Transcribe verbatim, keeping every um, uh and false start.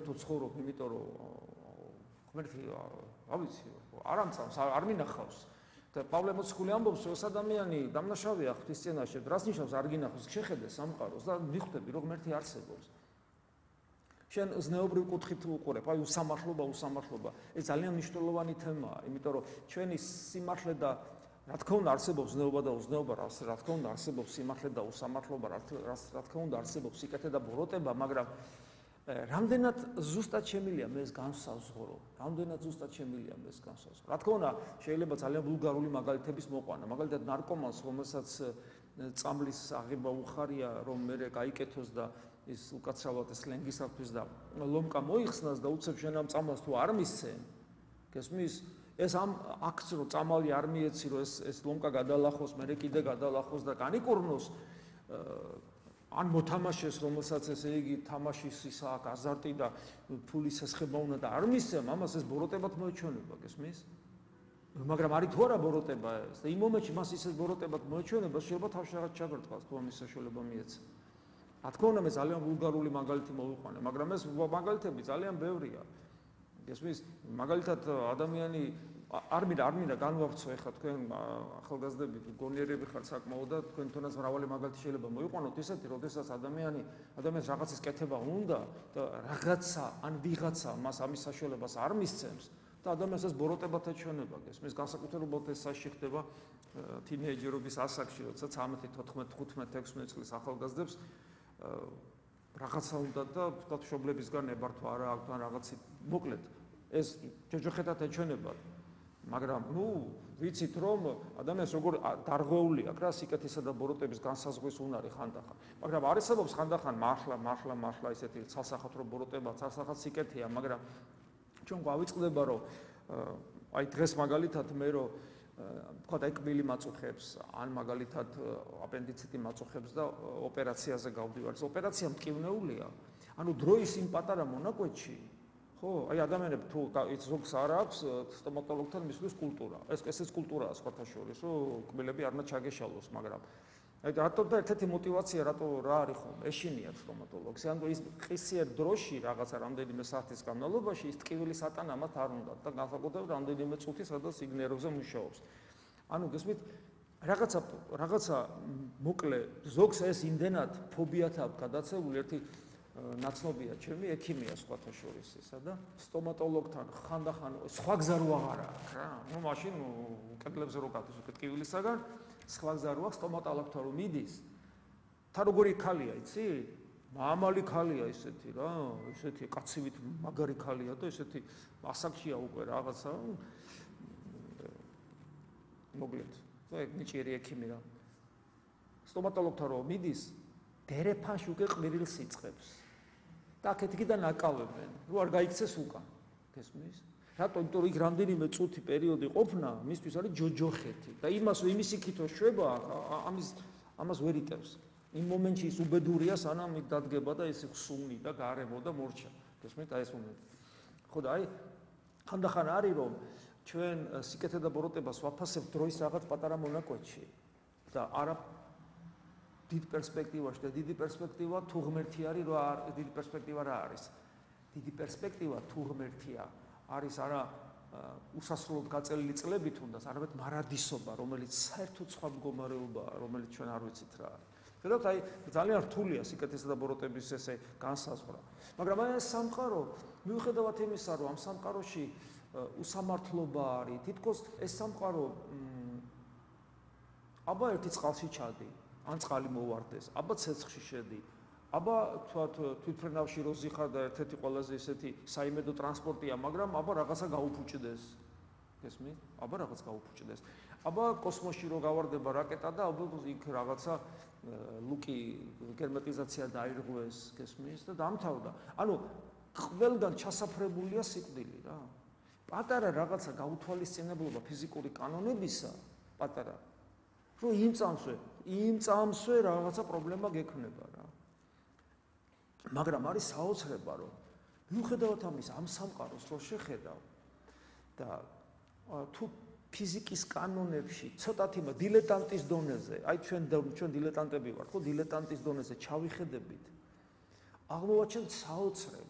ღმერთო ცხოვრობ, იმიტომ რომ ღმერთი რა ვიცი, არ ამწამს, არ მინახავს. და პავლე მოციქული ამბობს, რომ ეს ადამიანი დამნაშავეა ღვთისმცემლობაში, რას ნიშნავს არ გინახავს, შეხედე სამყაროს და მიხვდები, რომ ღმერთი არსებობს. შენ ზნეობრივ კუთხით უყურებ, აი უსამართლობა, უსამართლობა. ეს ძალიან მნიშვნელოვანი თემაა, იმიტომ რომ ჩვენი სიმართლე და რა თქმა უნდა არსებობს ზნეობა და უზნეობა, რა თქმა უნდა არსებობს სიმართლე და უსამართლობა, რა თქმა უნდა არსებობს სიკეთე და ბოროტება, მაგრამ რამდენად ზუსტად შემილია მე ეს განსაზღვრო, რამდენად ზუსტად შემილია მე ეს განსაზღვრო. რა თქმა უნდა, შეიძლება ძალიან ვულგარული მაგალითების მოყვანა, მაგალითად ნარკომანს, რომელსაც წამლის აღება უხარია, რომ მე გაიკეთოს და ის უკაცრავად სლენგისათვის და ლომკა მოიხსნას და უცებ შენ ამ წამლას თუ არ მისცენ, გესმის? ეს ამ აქტს რომ წამალი არ მიეცი, რომ ეს ეს ლომკა გადალახოს, მე კიდე გადალახოს და განიკურნოს ან მოთამაშეს, რომელსაც ესე იგი თამაშის ისა აქვს აზარტი და ფულის ესხება უნდა და არ მისცემ, ამას ეს ბოროტებად მოეჩვენება, გესმის? მაგრამ არის თუ არა ბოროტება ეს და იმ მომენტში მას ისე ბოროტებად მოეჩვენება, შეიძლება თავში რაღაც ჩაგრტყას თუ ამის საშუალება მიეცა. რა თქმა უნდა, მე ძალიან ვულგარული მაგალითი მოვიყვანე, მაგრამ ეს მაგალითები ძალიან ბევრია. გესმის? მაგალითად ადამიანი არ მინდა არ მინდა განვავრცო ეხლა თქვენ ახალგაზრდები გონიერები ხართ საკმაოდ და თქვენ თუნდაც მრავალი მაგალითი შეიძლება მოიყვანოთ ისეთი, როდესაც ადამიანი ადამიანს რაღაცის კეთება უნდა და რაღაცა ან ვიღაცა მას ამის საშუალებას არ მისცემს და ადამიანს ეს ბოროტებად ეჩვენება, გესმის? განსაკუთრებულად ეს საშიში ხდება თინეიჯერობის ასაკში, როცა ცხრამეტი, თოთხმეტი, თხუთმეტი, ექვსმეტი წლის ახალგაზრდებს რაღაცა უნდა და ვთქვათ მშობლებისგან ებართვა არა აქვს ან რაღაცი მოკლედ ეს ჯოჯოხეთად ეჩვენება. მაგრამ ნუ ვიცით რომ ადამიანს როგორ დარღვეული აქვს რა სიკეთისა და ბოროტების განსაზღვის უნარი ხანდახან. მაგრამ არსებობს ხანდახან მართლა მართლა მართლა ისეთი ცალსახათრო ბოროტება, ცალსახად სიკეთეა, მაგრამ ჩვენ გვავიწყდება რომ აი დღეს მაგალითად მე რომ ვთქვათ ეკბილი მაწუხებს, ან მაგალითად აპენდიციტი მაწუხებს და ოპერაციაზე გავდივარ. ეს ოპერაცია მტკივნეულია. ანუ დროის იმ პატარა მონაკვეთში ხო, აი ადამიანებს თუ ზოგს არ აქვს სტომატოლოგთან მისვლის კულტურა. ეს ესეც კულტურაა სხვათა შორის, რომ კბილები არ უნდა ჩაგეშალოს, მაგრამ აი რატო და ერთ-ერთი мотиваცია რატო რა არის ხომ? ეშინიათ სტომატოლოგს. ანუ ის ყისიერ დროში რაღაცა რამდენიმე საათის განმავლობაში ის ტკივილის ატანა მათ არ უნდა და განსაკუთრებით რამდენიმე წუთი სადაც იგ ნერვზე მუშაობს. ანუ გესმით, რაღაცა რაღაცა მოკლე ზოგს ეს იმდენად ფობიათ აქვს გადაცებული ერთი ნაცნობია ჩემი ექიმია სხვათა შორის ისა და სტომატოლოგთან ხანდახან სხვა გზა რო აღარა აქვს რა. ნუ მაშინ კედლებზე რო გადის უკეთ ტკივილისაგან სხვა გზა რო აქვს სტომატოლოგთან რო მიდის. თა როგორი ქალია, იცი? მამალი ქალია ისეთი რა, ისეთი კაცივით მაგარი ქალია და ისეთი ასაკშია უკვე რაღაცა. მოკლედ, ეგ ნიჭიერი ექიმი რა. სტომატოლოგთან რო მიდის, დერეფანში უკვე ყვირილს იწყებს. და აქეთიკიდან აკავებენ, რო არ გაიქცეს უკან. გესმის? რატო? იმიტომ რომ იქ რამდენიმე წუთი პერიოდი ყოფნა მისთვის არის ჯოჯოხეთი და იმას იმის იქითო შვება ამის ამას ვერ იტევს. იმ მომენტში ის უბედურია, სანამ იქ დადგება და ის ხსუნი და გარემო და მორჩა. გესმით? აი ეს მომენტი. ხო და აი ხანდახან არის რომ ჩვენ სიკეთე და ბოროტებას ვაფასებთ დროის რაღაც პატარა მონაკვეთში და არა დიდ პერსპექტივაში და დიდი პერსპექტივა თუ ღმერთი არის რა დიდი პერსპექტივა რა არის დიდი პერსპექტივა თუ ღმერთია არის არა უსასრულოდ გაწელილი წლებით თუნდაც არამედ მარადისობა რომელიც საერთოდ სხვა მდგომარეობაა რომელიც ჩვენ არ ვიცით რა არის. ხედავთ აი ძალიან რთულია სიკეთესა და ბოროტების ესე განსაზღვრა. მაგრამ აი ეს სამყარო მიუხედავად იმისა რომ ამ სამყაროში უსამართლობა არის თითქოს ეს სამყარო აბა ერთი წყალში ჩადი ან წყალი მოვარდეს, აბა ცეცხლში შედი, აბა თქვათ თვითმფრინავში რო ზიხარ და ერთ-ერთი ყველაზე ისეთი საიმედო ტრანსპორტია, მაგრამ აბა რაღაცა გაუფუჭდეს. გესმით? აბა რაღაც გაუფუჭდეს. აბა კოსმოსში რო გავარდება რაკეტა და აბა იქ რაღაცა ლუკი გერმეტიზაცია დაირღვეს, გესმის? და დამთავრდა. ანუ ყველგან ჩასაფრებულია სიკვდილი რა. პატარა რაღაცა გაუთვალისწინებლობა ფიზიკური კანონებისა, პატარა რომ იმ წამსვე, იმ წამსვე რაღაცა პრობლემა გექნება რა. მაგრამ არის საოცრება რომ მიუხედავად ამისა ამ სამყაროს რო შეხედავ და თუ ფიზიკის კანონებში ცოტათი დილეტანტის დონეზე, აი ჩვენ ჩვენ დილეტანტები ვართ, ხო დილეტანტის დონეზე ჩავიხედებით, აღმოვაჩენთ საოცრებას.